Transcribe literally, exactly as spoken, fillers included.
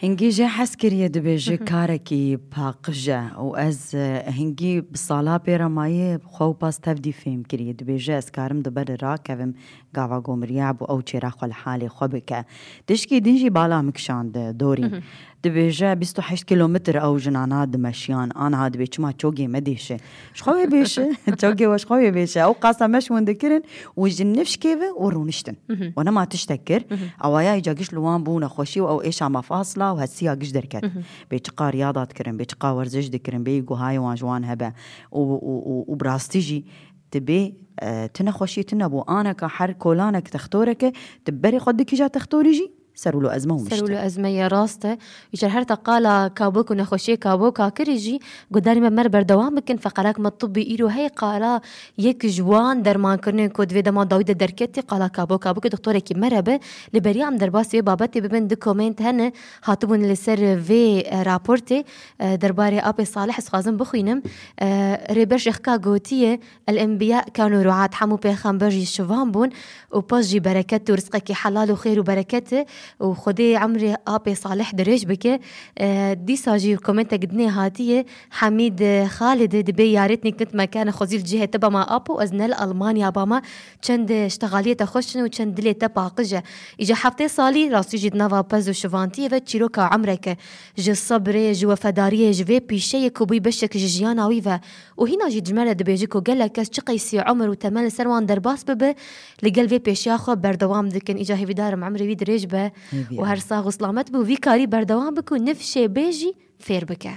Hingî jê hez kiriye, dibêje karekî paqij e û ez, e, hingî bi sala pê re maye xwe û pas tevdî fêm kiriye. Dibêje ez karim di ber rakevim, gava gomiriya bû ew çêra xwe li halê xwe bike. Tişkî din jî bala min kişand dorî. Dibêje bîst û heşt kilometr ew jinana dimeşiyan. Aniha dibê çima çogê me dêşe. Ji xwe wê bêşe. Çogê we ji xwe wê bêşe. Ew qasa me ji hûn dikirin û ji nifşkê ve û rûniştin. We nema tiştek kir. Awaya îca giş li wan bû nexweşî û ew êşa me fasla û hesiya giş derket. Bê çiqa riyada dikirin, bê çiqa werziş dikirin, bê guhayê wan ji wan hebe. Û, û, û, û bi rastî jî dibê, e, tu nexweşî tune bû. Aneka her kolanek textoreke, tu berê xwe dikîja textorî jî, ser û lo ezme û Ser û lo mişte. Ezme ye, rast e. Îcar her te qala kabok û nexweşiyê kaboka kirî jî, gudarî me mer berdewam bikin. Feqerak me tibbî îro hey qala yek ji wan dermankirinên ku di vê dema dawî de derketî, qala kabok kabokê doktorekî me re be. Li beriya em derbasî wê babetê bibin, du komênt hene, hatibûn li ser vê, e, raportê, e, derbarê Apê Salih ez xwazim bixwînim. E, Rêber Şêxka gotiye, El-Enbiya kanu ruat, hemû pêxember jî şivan bûn û paş jî bereket û rizqekî helal û xêr û bereket e û Xwedê emrê Apê Salih dirêj bike. E, dîsa jî komentek dinê hatiye, Hemîd Xalid dibê yarêtnî kit me kene xwezî li cihê te bama apo ez ne li Almanya bama, çend ştexaliyê te xweş in û çend dilê te paqij e. Îca heftê salî rastî jî di nava pez û şivantiyê ve çîroka emreke ji sebrê, ji wefedariyê, ji vê pîşeyê ku bûyî beşek ji jiyana wî ve. Û hîna jî ji me re dibêje ku gelek kes çi qeysî umir û temel li ser wan derbas bibe, li gel vê pêşiya xwe berdewam dikin. Îca hêvîdar im umrê wî dirêj be Hêvî û her em. Sax û selamet be û vî karî berdewam bike û nifşê bê jî fêr bike.